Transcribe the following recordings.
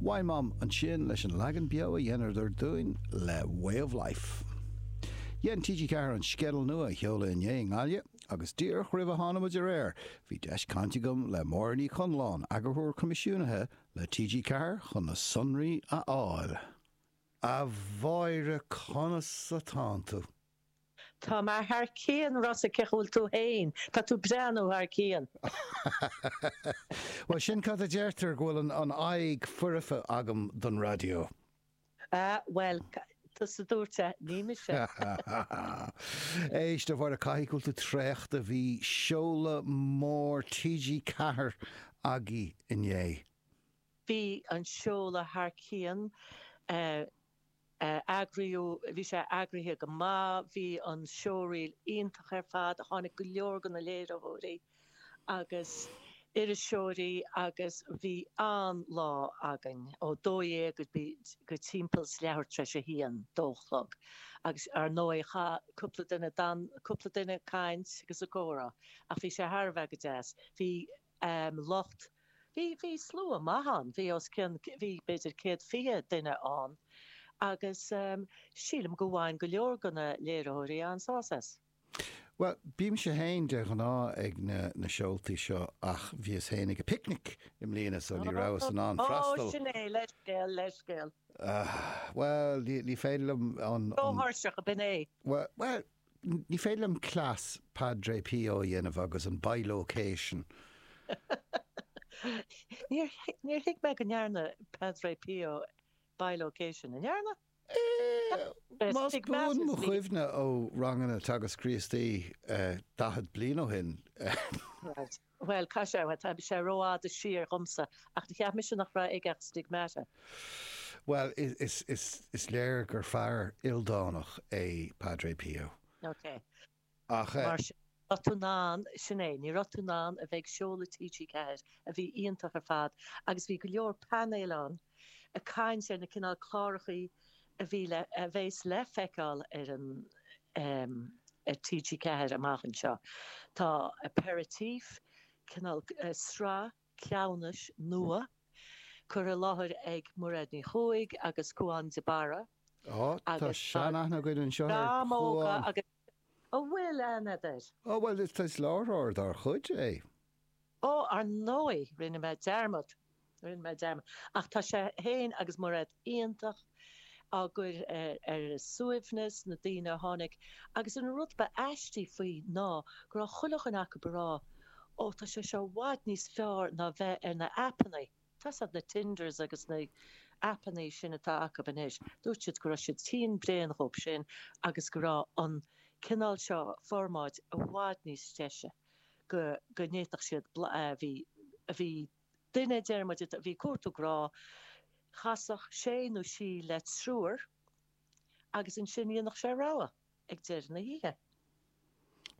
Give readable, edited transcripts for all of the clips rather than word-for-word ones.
Wine Mom ansin leis an leagan beo a dheineadar dúinn le Way of Life. Dhein TG4 an sceideal nua a sheoladh inné i nGaillimh agus díreach roimh a tháinig muid ar aer bhí deis cainte agam le Máire Ní Chonláin, Eagarthóir Coimisiúnaithe le TG4 chun na sonraí a fháil. A Mháire, conas atánn tú? Tá mé thar cionn, Rossa, cén chaoi a bhfuil tú féin? Tá tú breathnú thar cionn. Bhuel, sin cad a deirtear, go bhfuil an aghaidh foirfe agam don raidió. Ah, bhuel, tusa a dúirt é, ní mise. Éist, a Mháire, caithfidh go bhfuil tú traochta, bhí seoladh mór TG4 agaibh inné. Bhí an seoladh thar cionn. Eagraíodh, bhí sé eagraithe go maith, bhí an showreel iontach ar fad, tháinig go leor de na léiritheoirí agus iriseoirí agus bhí an-lá againn ó 12 go go timpeall is leathuair tar éis a haon, dó a chlog. Agus ar ndóigh chaith cúpla duine, d'fhan cúpla duine ag caint agus ag comhrá ach bhí sé thar a bheith go deas. Bhí lucht, bhí, bhí slua maith ann, bhí os cionn, bhí b'fhéidir 120 duine ann agus sílim go bhain go leor de na léiritheoirí an-sásamh as. Bhuel, bímse féin de ghnáth ag na, na seoltaí seo ach bhíos féin ag an bpicnic i mbliana so ní rabhas in ann freastal. Ó, sin é, leithscéal, leithscéal. Bhuel, ní, ní féidir liom an, an. Róthuirseach, ab in é? Bhuel, bhuel, Ní féidir liom cleas Padre Pio a dhéanamh agus an bilocation. Níor thuig mé go ndearna Padre Pio bilocation. An ndearna? Más buan mo chuimhne ó ranganna Teagasc Críostaí 40 bliain ó shin. Right. Bhuel, caithfidh sé, bhuel, tá sé rófhada siar dhomsa, ach cheap mise nach raibh aige ach stigmata. Bhuel, is, is, is léir gur fear ildánach é Padre Pio. Ok. Ach eh. Mar sin, ní raibh tú in ann, sin é, ní raibh tú in ann a bheith ag seoladh TG4, a bhí iontach ar fad, agus bhí go leor painéil ann ag caint ar na cineál clárachaí a bhí le, a bheas le feiceáil ar an, em, ar TG4 amach anseo. Tá Aperitif, cineál sraith cleamhnais nua, curtha i láthair ag Mairéad Ní Chuaig agus Cúán de Barra. Á, tá seanaithne againn anseo ar Chúán. Agus an bhfuil aithne agat air? Ó, bhuel, is láithreoir dár chuid é. Ó, ar ndóigh, rinne mé dearmad, rinne mé dearmad. Ach tá sé féin agus Mairéad iontach, á gcur ar a suaimhneas, na daoine a tháinig. Agus an rud ba aistí faoi ná go raibh chuile dhuine acu ag rá, Ó, tá sé seo i bhfad níos fearr ná bheith ar na aipeanna. Tá 's agat na Tinders agus na aipeanna sin atá acu anois. Dúirt siad go raibh siad tinn bréan dhóibh sin agus go raibh an cineál seo formáid i bhfad níos deise. go go ndéanfadh siad bhí bhí duine deir muid a bhí ag cuartú grá, chasfadh sé nó sí le triúr agus ansin dhéanfadh sé rogha ag deireadh na hoíche.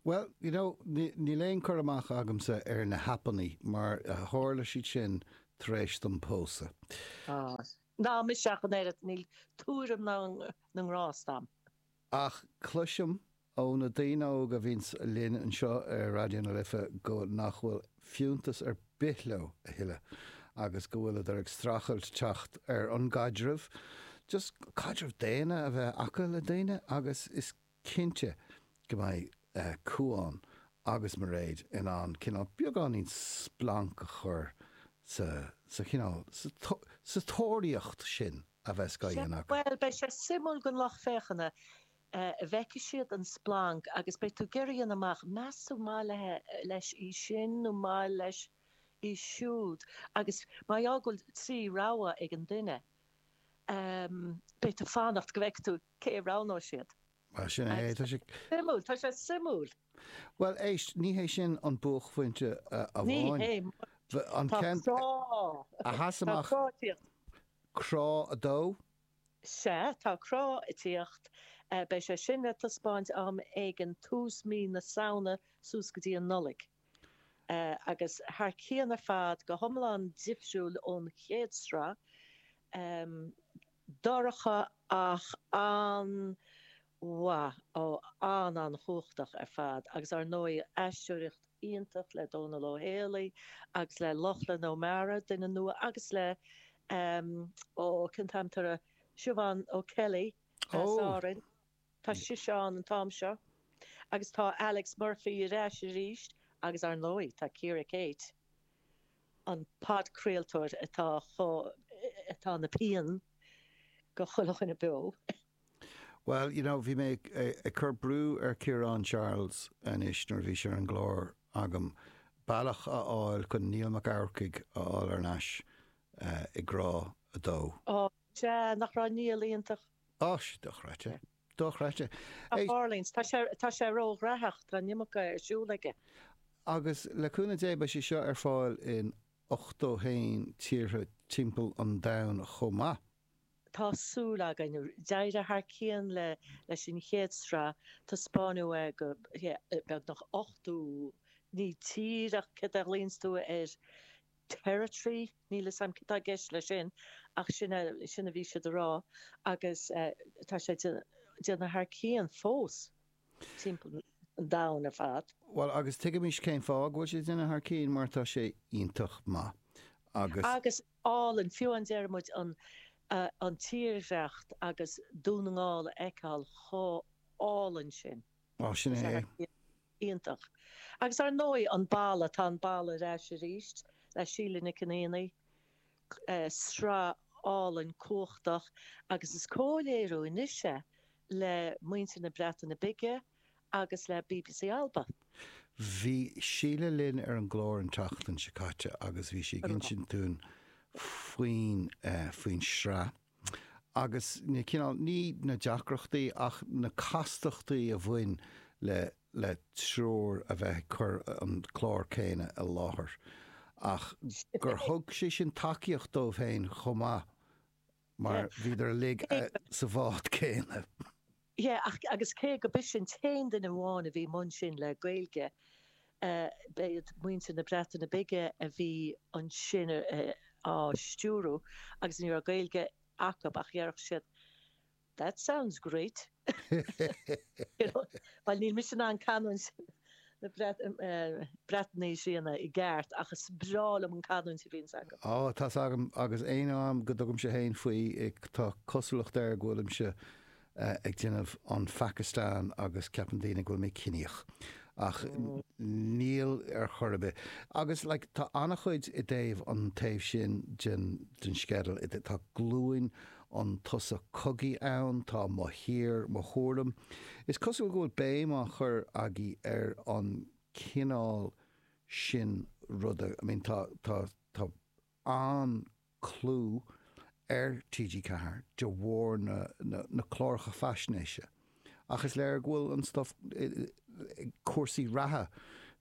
Bhuel, you know, níl aon cur amach agamsa ar na haipeanna mar tharla siad sin tar éis dom pósadh. Á, ná mise ach an oiread, níl tuairim na na ngrást a'm. Ach cloisim ó na daoine óga a bhíonns linn anseo ar Raidió na Life go nach bhfuil fiúntas ar bith leo a thuilleadh agus go bhfuileadar ag streachailt teacht ar an gcaidreamh, just caidreamh daonna a bheith acu le daoine agus is cinnte go mbeidh Cúán agus Mairéad in ann cineál beagáinín splanc a chur sa, sa chineál, sa tóraíocht sin. a bheas á dhéanamh acu. Bhuel, beidh sé suimiúil don lucht féachana, bhfeicfidh siad an splanc agus beidh tú ag iarraidh a dhéanamh amach, meas tú maith leis í sin nó maith leis í siúd agus mar gheall go bhfuil 3 rogha ag an duine, beidh tú ag fanacht go bhfeicfidh tú cé a roghnóidh siad. Bhuel, sin é, tá sé. Suimiúil, tá sé suimiúil. Bhuel, éist, ní hé sin an buaicphointe amháin. Ní hé. An Tá ceann crá. a sheas Tá amach. crá ag tíocht. Crá 2? Sea, tá crá ag tíocht. Beidh sé sin le taispeáint am éigin tús mí na Samhna suas go dtí an Nollaig. Agus thar cionn ar fad, go hiomlán difriúil ón chéad sraith. Dorcha ach an-mhaith, ó an-an-chumhachtach ar fad agus ar ndóigh aisteoireacht iontach le Dónal Ó Héalaí agus le Lochlann Ó Meára, duine nua, agus le. Ó, cén t-ainm atá uirthi? Siobhán O'Kelly as Árainn. Tá sise ann an t-am seo. Agus tá Alex Murphy ar ais arís agus ar ndóigh tá Ciara Kate, an podchraoltóir atá chomh, atá ina pian go chuile dhuine beo. Bhuel, you know, bhí mé ag cur brú ar Ciarán Charles anois nuair a bhí sé ar an gclár agam bealach a fháil chun Niall Mac Eachmharcaigh a fháil thar n-ais i gCrá 2. Ó, sea, nach raibh Niall iontach? Ó, dochreidte. Dochreidte. A tharlaíonns, tá sé, tá sé róghnóthach, tá an iomarca ar siúl aige. Agus le cúnamh Dé beidh sé seo ar fáil in 81 tíortha timpeall an domhain chomh maith. Tá súil againn. D'éirigh thar cionn le leis an chéad sraith, taispeánadh é go beagnach 80, ní tír ach céard a ghlaonns tú ar territory, níl 'fhios a'm cad tá i gceist leis sin ach sin é, sin a bhí siad a rá agus tá sé déanamh thar cionn fós. timpeall an domhain ar fad. Bhuel, agus tuigimís cén fáth go bhfuil sé ag déanamh thar cionn, mar tá sé iontach maith. Agus. Agus álainn, fiú an déarfaidh muid an an tírdhreach agus Dún na nGall a fheiceáil chomh álainn sin. Á, sin é é. Iontach. Agus ar ndóigh an Balla, tá an Balla ar ais arís le Síle Nic an Aonaigh. Sraith álainn cumhachtach agus is comhléiriú anois é le muintir na Breataine Bige agus le bbc Alba. Bhí Síle linn ar an gclár an tseachtain seo caite agus bhí sí ag insint dúinn faoin, faoin sraith agus na cineál, ní na deacrachtaí ach na castachtaí a bhain le, le triúr a bheith ag cur an clár céanna i láthair ach gur thug sé sin tacaíocht dóibh féin chomh maith. Mar bhíodar uilig sa bhád céanna. Yeah, ach, agus cé go b'ise an t-aon duine amháin a bhí i mbun sin le Gaeilge, ba iad muintir na Breataine Bige a bhí ansin á stiúrú agus ní raibh Gaeilge acu ach dhéarfadh siad That sounds great. You know, bhuel níl mise in ann canúint na Breatnaise a dhéanamh i gceart ach is breá liom an canúint a bhíonns acu. Á, tá's agam, agus aon am go dtugaimse féin faoi, tá cosúlacht air go bhfuilimse ag déanamh an Phacastáin agus ceapann daoine go bhfuil mé ciníoch. Ach níl ar chor ar bith. Agus like tá an-chuid i dtaobh an taobh sin den den sceideal, tá glúin an tsosa cogaidh ann, tá Mo Thír, Mo Thuairim. Is cosúil go bhfuil béim á chur agaibh ar an cineál sin ruda. I mean tá, tá, tá an-chlú ar TG4 de bharr na, na, na cláracha faisnéise. Ach is léir go bhfuil an stuff, cúrsaí reatha,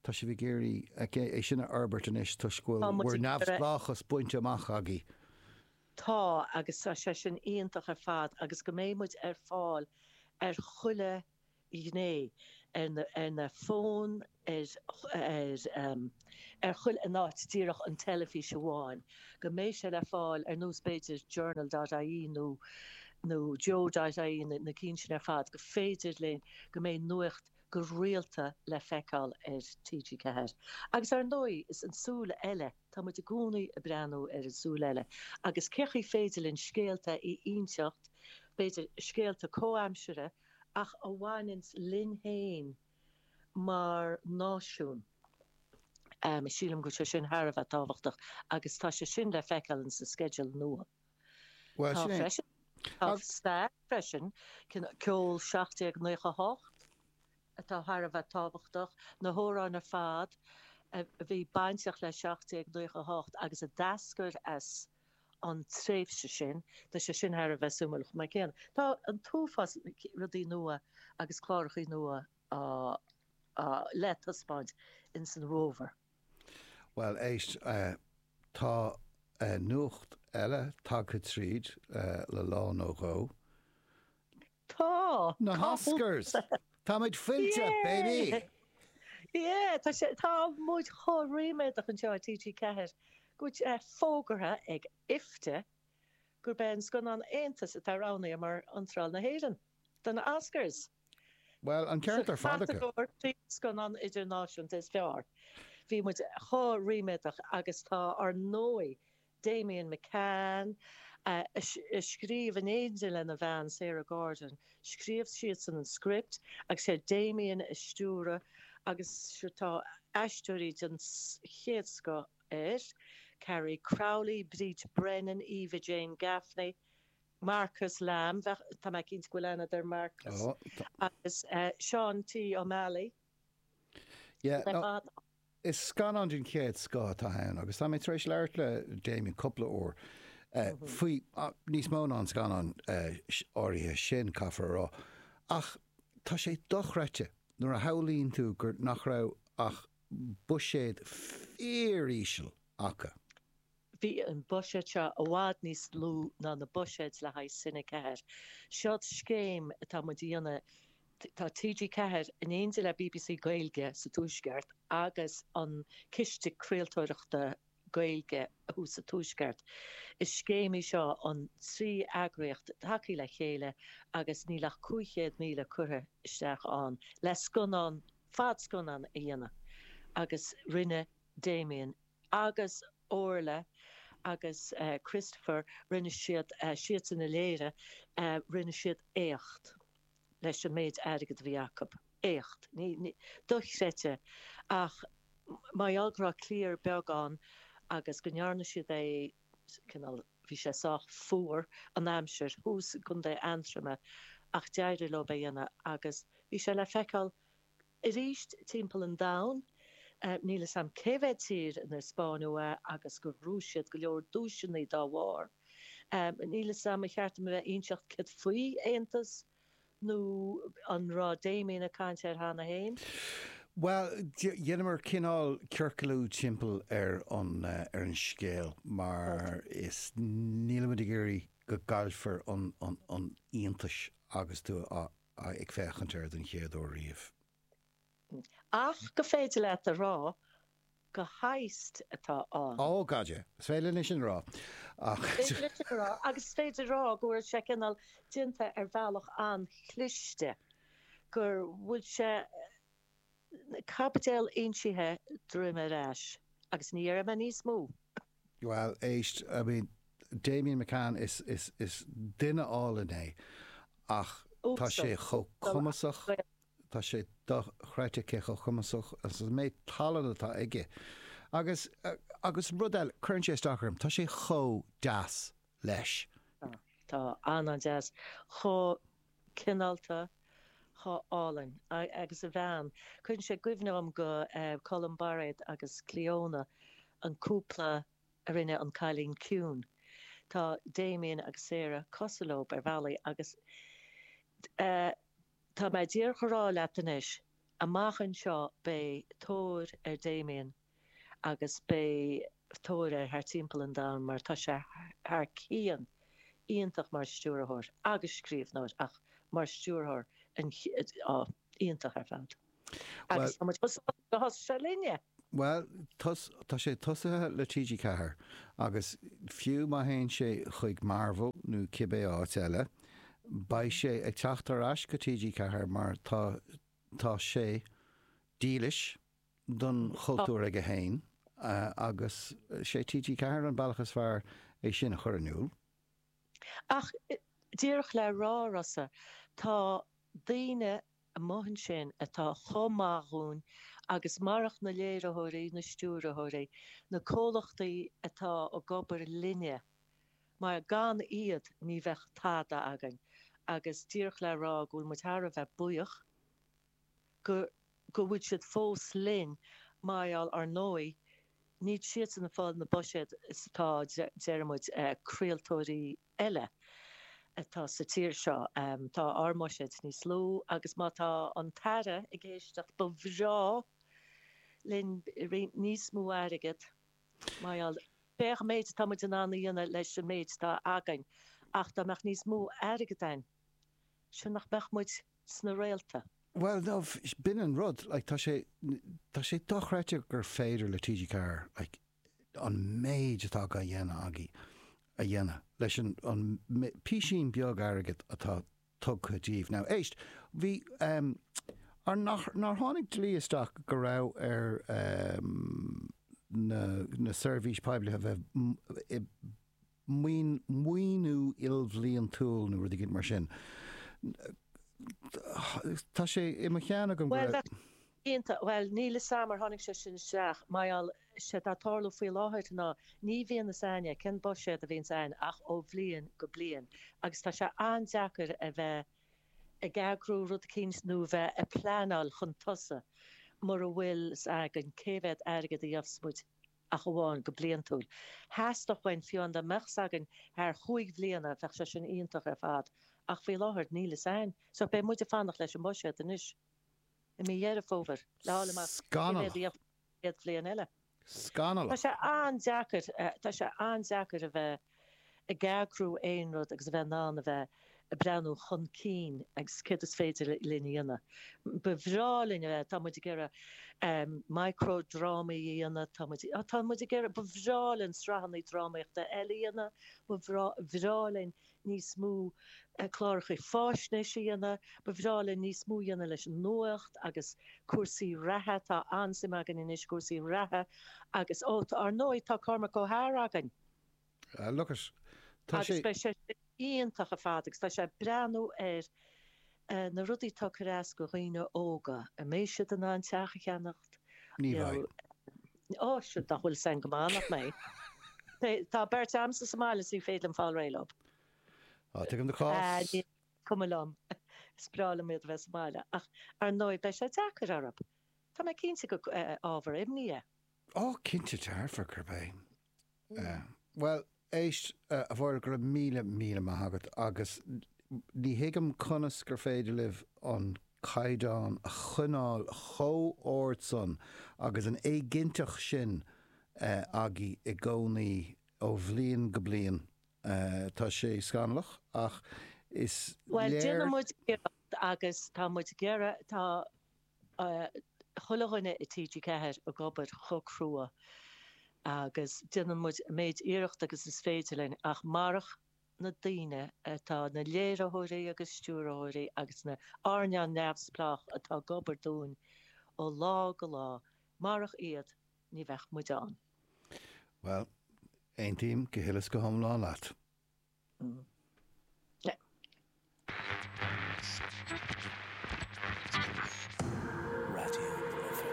tá sibh ag iarraidh é sin a fhorbairt anois toisc go bhfuil bhur neamhspleáchas bainte amach agaibh. Tá, agus tá sé sin iontach ar fad agus go mbeidh muid ar fáil ar chuile ghné, ar na, ar na fóin, ar, ar, ar chuile in áit díreach an teilifís amháin, go mbeidh sé le fáil ar nós b'fhéidir journal dot ie nó, nó joe dot ie, na, na cinn sin ar fad, go féidir linn, go mbeidh nuacht go rialta le feiceáil ar TG4. Agus ar ndóigh, is an tsúil eile. Tá muid i gcónaí ag breathnú ar an tsúil eile agus cé chaoi féidir linn scéalta a inseacht, b'fhéidir scéalta comhaimseartha ach a bhaineanns linn féin mar náisiún. Sílim go bhfuil sé sin thar a bheith tábhachtach agus tá sé sin le feiceáil in sa sceideal nua. Bhuel, Tá sin é. freisin. Tá stair freisin, ceol 1798. atá thar a bheith tábhachtach, na hamhráin ar fad a bhí bainteach le 1798 agus a d'eascair as an tréimhse sin, tá sé sin thar a bheith suimiúil chomh maith céanna. Tá an t-uafás rudaí nua agus clárachaí nua á le taispeáint ins an bhfómhar. Bhuel, éist, tá nuacht eile tagtha tríd le lá nó dhó. Tá! Na hOscars! Táimid fillte, baby! Yeah! Tá sé, tá muid chomh ríméadach anseo i TG4 go bhfuil sé fógartha ag IFTA gurb é an scannán Aontas atá roghnaithe mar iontráil na hÉireann do na Oscars. Bhuel, an ceart ar fad acu. Sa chatagóir Príomhscannán Idirnáisiúnta is Fearr. Bhí muid chomh ríméadach agus tá ár ndóigh. Damian McCann, a scríobh in éindí lena bhean Sarah Gordon, scríobh siadsan an script agus sé Damian a stiúradh agus tá aisteoirí den chéad scoth air, Carrie Crowley, Bríd Brennan, Eva Jane Gaffney, Marcus Lamb, tá mé cinnte go bhfuil aithne agat ar Marcus, agus Seán T. O'Malley. Yeah, no, is scannán den chéad scoth atá ann agus tá mé tar éis labhairt le Damien cúpla uair faoi níos mó ná an scannán áirithe sin, caithfear a rá. Ach tá sé dochreidte nuair a shamhlaíonn tú gur nach raibh ach buiséad fíoríseal acu. Bhí an buiséad seo i bhfad níos lú ná na buiséid le haghaidh Cine 4. Seod scéim atá muid a dhéanamh, tá TG4 in éindí le bbc Gaeilge sa Tuaisceart agus an Ciste Craoltóireachta Gaeilge thuas sa Tuaisceart. Is scéim í seo an trí eagraíocht tagtha le chéile agus níl ach 500,000 curtha isteach ann le scannán, fadscannán a dhéanamh agus rinne Damien agus Orla agus Christopher, rinne siad, siadsan a léirigh, rinne siad éacht leis an méid airgid a bhí acu. Éacht. Ní, dochreidte. Ach mar gheall go raibh cliar beag ann agus go ndearna siad é, cineál, bhí sé sách fuar an aimsir thuas i gContae Aontroma ach d'éirigh leo é a dhéanamh agus bhí sé le feiceáil Arís timpeall an domhain, níl 'fhios a'm cé mhéad tír inar spáineadh é agus gur ghnóthaigh siad go leor duaiseanna dá bharr. Níl 'fhios a'm, ar cheart dom a bheith ag inseacht céard faoi Aontas nó an raibh Damien ag caint air cheana féin? Bhuel, dheineamar cineál ciorcalú timpeall ar an ar an scéal mar is nílimid ag iarraidh go gcaillfear an an iontais agus tú á ag féachaint air den chéad uair riamh. Ach gur féidir leat a rá gur heist atá ann. Ó, gad yeah. Is féidir linn sin a rá. Ach. Is féidir linn sin a rá agus is féidir a rá go bhfuil sé cineál déanta ar bhealach an-chliste, gur bhfuil sé caibidil insithe droim ar ais agus ní dhéarfaidh mé níos mó. Bhuel, éist, I mean, Damian McCann, is, is, is duine álainn é ach tá sé chomh cumasach, tá sé dochreidte cé chomh cumasach agus an méid tallann atá aige. Agus, agus rud eile, cuireann sé isteach orm, tá sé chomh deas leis. Tá, tá, an-an-deas. Chomh cineálta, chomh álainn. Agus a bhean. Cuireann sé i gcuimhne dhom go Colm Bairéad agus Clíona, an cúpla a rinne An Cailín Ciúin. Tá Damien agus Sarah cosúil leo ar bhealaí agus tá mé díreach a rá leat anois, amach anseo beidh tóir ar Damien agus beidh tóir air thar timpeall an domhain mar tá sé thar cionn iontach mar stiúrthóir agus scríbhneoir ach mar stiúrthóir iontach ar fad. Agus tá muid chomh sásta gur thosaigh sé linne! Bhuel, tá sé tosaithe le TG4 agus fiú má théann sé chuig Marvel nó cibé áit eile, beidh sé ag teacht ar ais go TG4 mar tá tá sé dílis don chultúr aige féin agus sé TG4 an bealach is fearr é sin a chur in iúl. Ach díreach le rá, Rossa, tá daoine amuigh ansin atá chomh maith dhúinn agus marach na léiritheoirí, na stiúrthóirí, na comhlachtaí atá ag obair linne, mar gan iad ní bheadh tada againn agus díreach le rá go bhfuil muid thar a bheith buíoch go go bhfuil siad fós linn mar gheall ar ndóigh níl siadsan ag fáil na buiséad is atá deir muid craoltóirí eile atá sa tír seo. Tá ár mbuiséad níos lú agus má tá an tAire ag éisteacht ba bhreá linn roinnt níos mó airgead mar gheall féach an méid atá muid in ann a dhéanamh leis an méid atá againn ach dá mbeadh níos mó airgead againn sin nach mbeadh muid sna réalta. Bhuel, no, b'in an rud, like, tá sé, tá sé dochreidte gur féidir le TG4, like, an méid atá á dhéanamh agaibh a dhéanamh leis an, an písín beag airgid atá tugtha díbh. Now, éist, bhí, em, ar, nach, nár tháinig dlí isteach go raibh ar, em, na seirbhís poiblí a bheith i maoiniú ilbhliantúil nó rud éigin mar sin. Tá sé i mo cheann agam go raibh. Bhuel, bheadh iontach, bhuel, níl 'fhios a'm ar tháinig sé sin isteach, mar gheall, séard atá ag tarlú faoi láthair ná ní bhíonn 'fhios a'inne cén buiséad a bhíonns a'inn ach ó bhliain go bliain agus tá sé an-deacair a bheith ag eagrú rud eicínt nó a bheith ag pleanáil chun tosaigh mura bhfuil 'fhios againn cé mhéad airgead a gheobhas muid ach amháin go bliantúil. Theastódh uainn, fiú amháin dá mbeadh 'fhios againn thar chúig bhliana, bheadh sé sin iontach ar fad ach faoi láthair níl 'fhios a'inn. So beidh muid ag fanacht leis an mbuiséad anois i mí Dheireadh Fómhair le fháil amach cé mhéad a gheobhas muid an chéad bhliain eile. Scannalach. Tá sé an-deacair, tá sé an-deacair a bheith ag eagrú aon rud agus a bheith in ann a bheith ag breathnú chun cinn agus céard is féidir linn a dhéanamh. Ba bhreá linn a bheith, tá muid ag iarraidh micro-drámaí a dhéanamh, tá muid, tá muid ag iarraidh, ba bhreá linn sraitheanna drámaíochta eile a dhéanamh, ba bhreá linn níos mó cláracha faisnéise a dhéanamh, ba bhreá linn níos mó a dhéanamh leis an nuacht agus cúrsaí reatha, tá an-suim againn anois i gcúrsaí reatha agus, ó, ar ndóigh, tá Cormac Ó hEadhra againn. Ah, look at, tá sé. Agus beidh sé sin iontach ar fad agus tá sé ag breathnú ar na rudaí atá ag cur as go dhaoine óga, an mbeidh siad in ann teach a cheannacht? Ní bheidh. Ó, siúd nach bhfuil 'fhios a'inn go maith nach mbeidh. Tá beirt a'msa sa mbaile is ní féidir liom fáil réidh leo. Á, tuigim do chás. Ní cuma liom. Is breá liom iad a bheith sa mbaile. Ach, ar ndóigh, beidh sé deacair orthu. Tá mé cinnte gur ábhar imní é. Ó, cinnte dearfa gurb é. Bhuel, éist, a Mháire, go raibh míle, míle maith agat agus ní thuigim conas gur féidir libh an caighdeán a choinneáil chomh ard san agus an éiginnteacht sin agaibh i gcónaí ó bhliain go bliain. Tá sé scannalach ach is léir. Bhuel, déanann muid iarracht agus tá muid ag iarraidh, tá chuile dhuine i TG4 ag obair chomh crua agus déanann muid an méid iarrachta agus is féidir linn ach marach na daoine atá, na léiritheoirí agus stiúrthóirí agus na earnáil neamhspleách atá ag obair dúinn ó lá go lá, marach iad ní bheadh muid ann. Bhuel, aontaím go huile is go hiomlán leat. Raidió na Life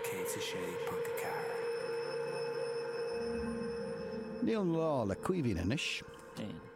106.4. Níl an lá le Caoimhín anois. 1.